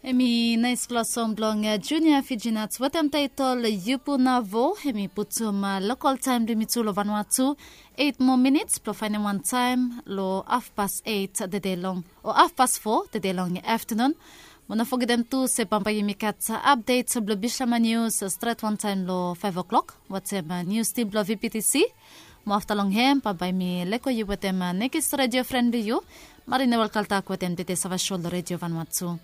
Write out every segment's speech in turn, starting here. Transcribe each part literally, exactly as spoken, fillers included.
Em i naispela song bilong Junia Fijinats wetem taitol Yupu Navo. Em i putum lokal taim bilong yumi tu long Vanuatu eit moa minits bilong fainim wan taim long hafpas eit tede long o hafpas fo tede long aftanun. Mo no fogetem tu se bambae yumi gat apdet bilong Bishlama Nius stret wantaim long faiv o'klok wetem nius tim bilong VPTC. Mo afta long hem bambae mi leko yu wetem nekis redio fren bilong yu, Marina Welkaltak wetem tete sava sho long redio Vanuatu.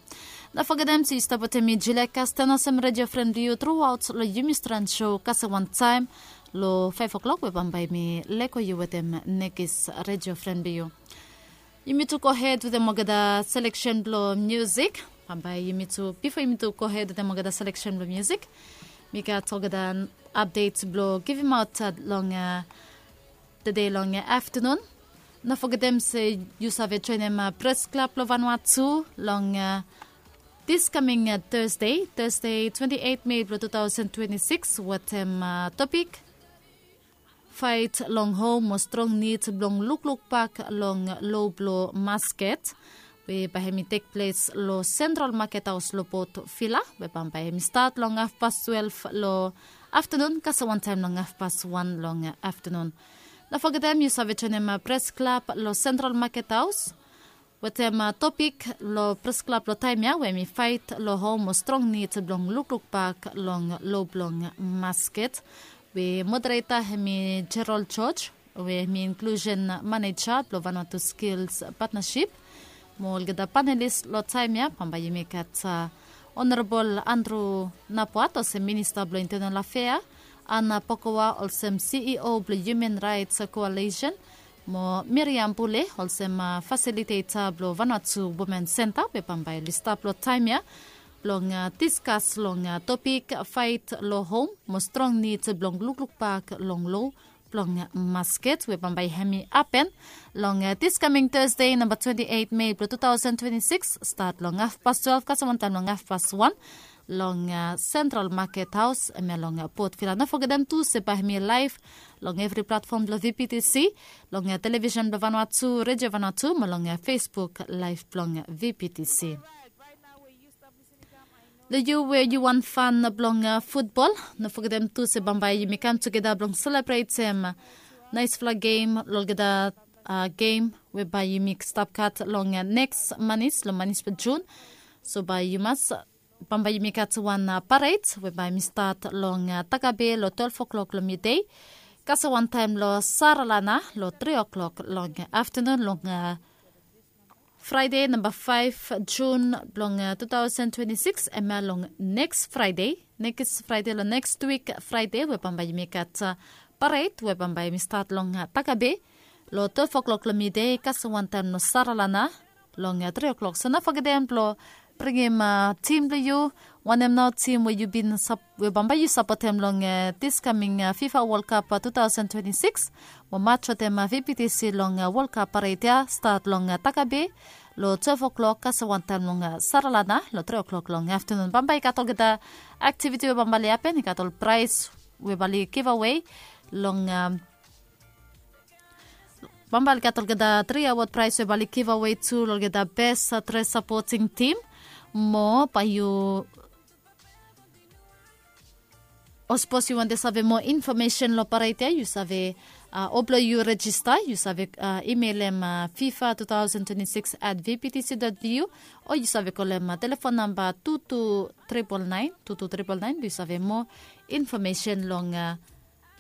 No fogetem se yu stap wetem mi Julia Kasten olsem redio fren bilong yu truaot long yumi stran sho kasem wantaim long faiv o'klok we bambae mi leko yu wetem nekis redio fren bilong yu. Yumi tu gohed wetem olgeta seleksen bilong musik. Bambae yumi tu bipo yumi tu gohed wetem olgeta seleksen bilong musik, mi gat olgeta apdet bilong givimaot long tede long aftanun. No fogetem se yu save joinim pres klab long Vanuatu long dis kaming Thursday, Thursday twenty eight Mei bilong two thousand twenty six wetem topik, fait long hom mo strong nid bilong lukluk bak long lo bilong masket, we bai hem i tek ples long Sentral Maket Haus long Port Vila, we bambae hem i stat long hafpas twelve long aftanun kasem wantaim long hafpas wan long aftanun. No fogetem yu save joinim pres klab long Sentral Maket Haus wetem topik long pres klab long taim ya we hem i fait long hom mo strong nid bilong lukluk bak long lo bilong masket, we modereta hem i Gerald George, we hem i inklusen maneja bilong Vanuatu Skills Partnership. Mo olgeta panelis long taim ya bambae yumi gat Honorabol Andrew Napuat olsem minista bilong Intenal Afea, Ana Pokoa olsem CEO bilong Human Rights Coalition, mo Miriam Pule olsem fasiliteta bilong Vanuatu Women Center, we bambae oli stap long taim ya bilong diskas long topik fait long hom mo strong nid bilong lukluk bak long lo bilong masket, we bambae hem i hapen long dis kaming Thursday namba twenty eight Mei bilong two thousand twenty six, stat long hafpas twelve kasem wantaim long hafpas wan long Sentral Maket Haus, em ya long Port Vila. No fogetem tu se bai hem i laif long evri platfom bilong VPTC, long televisen bilong Vanuatu, redio Vanuatu, mo long Facebook laif bilong VPTC. Long yu we yu wan fan bilong futbol, no fogetem tu se bambae yumi kam tugeta bilong selebretem naisfala gem long olgeta gem we bai yumi stap gat long neks manis, long manis bilong Jun. So bai yu mas bambae yumi gat wan paret we bai mi stat long Takabe long twelve o'clock long midei, kasem wantaim long Saralana long three o'clock long aftanun long Friday namba faiv Jun bilong two thousand twenty six, em ya long neks Friday, neks Friday long neks wik Friday we bambae yumi gat paret we bambae yumi stat long Takabe long twelve o'clock long midei, kasem wantaim long Saralana long three o'clock. So no fogetem bilong bringim tim bilong yu, wanem nao tim we yu bin we bambae yu sapotem long dis kaming FIFA World Cup two thousand twenty six, mo mach wetem VPTC long World Cup paret ya stat long Takabe long twelve o'clock, kasem wantaim long Saralana long three o'clock long aftanun. Bambae i gat olgeta aktiviti we bambae oli hapen, i gat ol prais we bambae oli giveaway long bambae oli gat olgeta tri award prais we bambae oli giveaway tu long olgeta bes tres sapoting tim. Mo bai yu o sapos yu wantem save moa infomesen long paret ya, yu save o bilong yu rejista, yu save imeilim fifa two thousand twenty six at vptc dot vu, o yu save kolem telefon namba two two triple nine two two triple nine, yu save moa infomesen long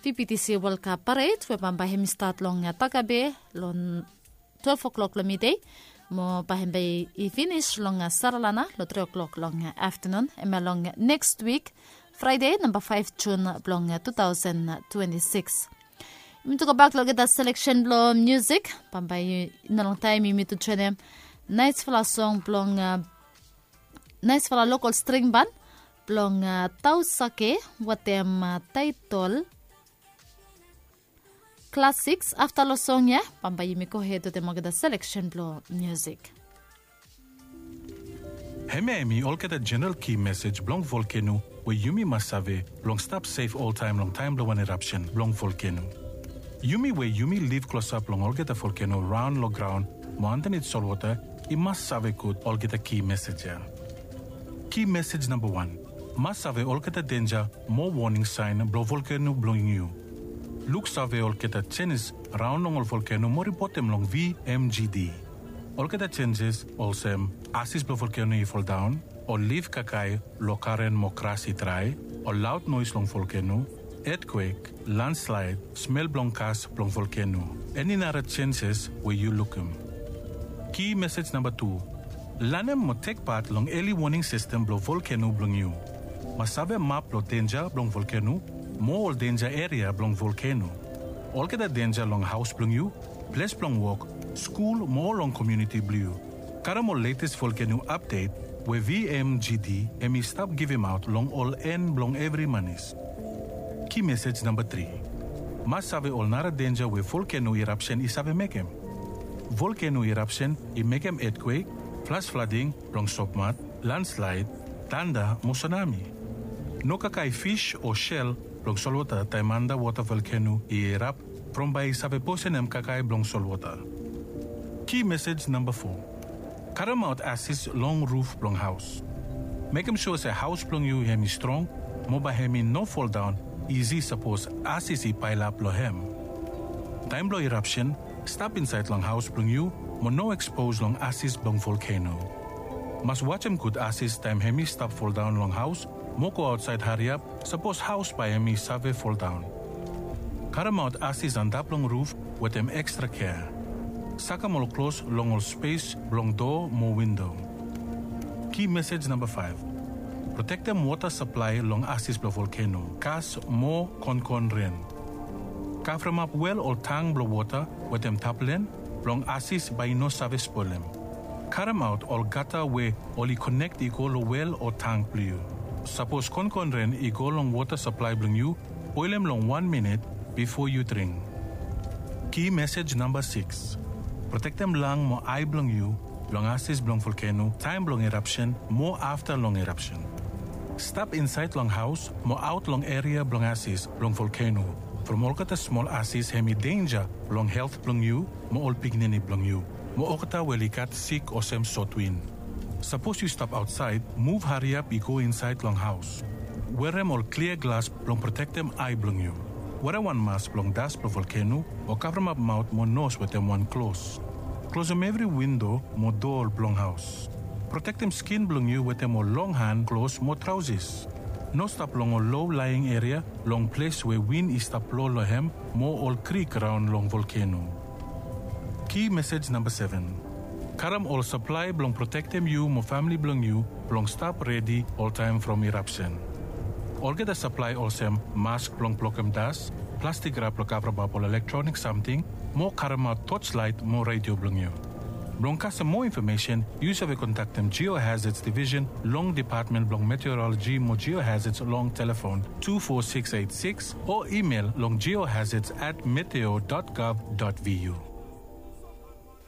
VPTC World Cup paret we bambae hem i stat long Takabe long twelve o'clock long midei, mo bae hem bai i finis long Saralana long three o'clock long aftanun, hemia long neks wik Fraide namba faiv Jun bilong two thousand twenty six. Yumi tu gobak long olgeta seleksen bilong musik, bambae i no longtaem yumi tu joinim naesfala song bilong naesfala lokol string ban bilong Tausake wetem taetol Classics. Afta long song ya bambae yumi gohed wetem olgeta seleksen bilong musik. Hemia em i olgeta jeneral ki mesej bilong volkeno we yumi mas save bilong stap sef oltaem long taem bilong wan erapsen bilong volkeno. Yumi we yumi liv klosap long olgeta volkeno raon long graon mo andanit solwota i mas save gut olgeta ki mesej ya. Ki mesej namba wan. Mas save olgeta denja mo woning saen blong volkeno blong yu. Luksave olgeta jenis raon long ol volkeno mo ripotem long V M G D. Olgeta jenjes olsem asis blong volkeno i foldaon, ol lif kakae long garen mo gras i drae, ol laod noes long volkeno, etkwek, landslaed, smel blong gas blong volkeno, eni nara jenjes we yu lukim. Ki mesej namba tu. Lanem mo tek pat long eli woning sistem blong volkeno blong yu. Mas save map blong denja blong volkeno mo ol denja eria blong volkeno. Olgeta denja long haos blong yu, ples blong wok, skul mo long komuniti blong yu. Karem ol letes volkeno apdet we V M G D hemi stap givimaot long ol en blong evri manis. Ki mesej namba tri. Mas save ol nara denja we volkeno irapsen i save mekem. Volkeno irapsen i mekem etkwek, flas flading blong sopmat, landslaed, tanda mo sunami. No kakae fis o sel blong solwota taem andawota volkeno i irap from bae i save posenem kakae blong solwota. Ki mesej namba fo. Karemaot asis long ruf blong haos. Mekem sua se haos blong yu hemi strong mo bae hemi no foldaon isi sapos asis i paelap long hem. Taem blong irapsen, stap insaed long haos blong yu mo no ekspos long asis blong volkeno. Mas wajem gud asis taem hemi stap foldaon long haos mo go aotsaed hariap sapos haos bae hemi save foldaon. Karemaot asis antap long ruf wetem ekstra kea. Sakem ol klos long ol spes blong doa mo windo. Ki mesej namba faef. Protektem wota saplae long asis blong volkeno, gas mo konkon ren. Kavremap wel o tang blong wota wetem taplen blong asis bae i no save spolem. Karemaot ol gata we oli konek i go long wel o tang blong yu. Sapos konkon ren i go long wota saplae blong yu, boelem long wan minit bifo yu dring. Ki mesej namba sikis. Protektem lang mo ae blong yu blong asis blong volkeno taem blong irapsen mo afta long irapsen. Stap insaed long haos mo aot long eria blong asis blong volkeno. From olgeta smol asis hemi denja long helt blong yu mo ol pikinini blong yu mo olgeta we oli gat sik olsem sotwin. Sapos yu stap aotsaed, muv hariap i go insaed long haos. Werem ol klia glas blong protektem ae blong yu. Werem wan mas blong das blong volkeno o kavremap maot mo nos wetem wan klos. Klosem evri windo mo doa blong haos. Protektem skin blong yu wetem ol long han klos mo traosis. No stap long ol lo laeng eria long ples we win i stap blo long hem mo ol krik raon long volkeno. Ki mesej namba seven. Karem ol saplae blong protektem yu mo famle blong yu blong stap redi oltaem from irapsen. Olgeta saplae olsem mask blong blokem das, plastik rap blong kavremap ol elektronik samting, mo karemaot toslaet mo redio blong yu. Blong kasem moa infomesen, yu save kontaktem Geohazards Division long Depatmen blong Meteoroloji mo Geohazards long telefon tu fo sikis eit sikis o imel long geohazards at meteo dot gov dot vu.